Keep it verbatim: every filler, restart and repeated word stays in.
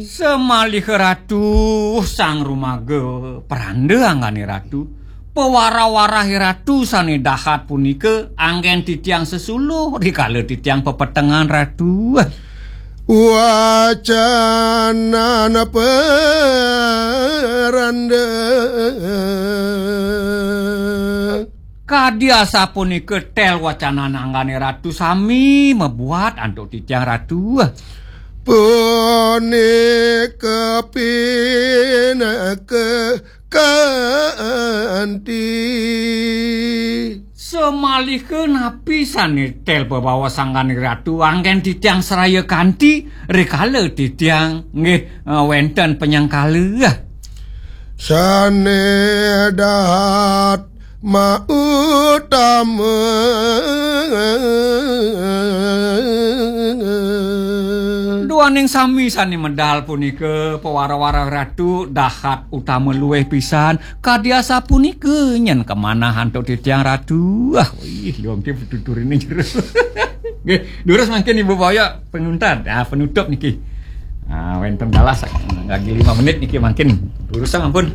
Samaliha Ratu sang rumaga pranda anggane Ratu, pawara-warahe Ratu sane dahat punika anggen titiang sesuluh rikala titiang pepetengan Ratu. Wacanana pranda. Kadi asapunika tel wacanan anggane Ratu sami mabuat antuk titiang Ratu. Punika pinaka kanti. Samaliha napi sane tel bebaos anggane Ratu anggen titiang saraya kanti rikala titiang nggih, eh, wenten panyengkala. Sane dahat mautama. Duaning sami sane medal punika pawara-wara Ratu dahat utama luwih pisan kadi asapunika nyen kamanah antuk titiang Ratu. Ah, wih, luang ki pituturine jero. Nggih, durus mangkin Ibu Boyok penuntan. Ah, penutup niki. Ah, wenten dalah sak-, lagi lima menit niki mangkin. Durusang ampun.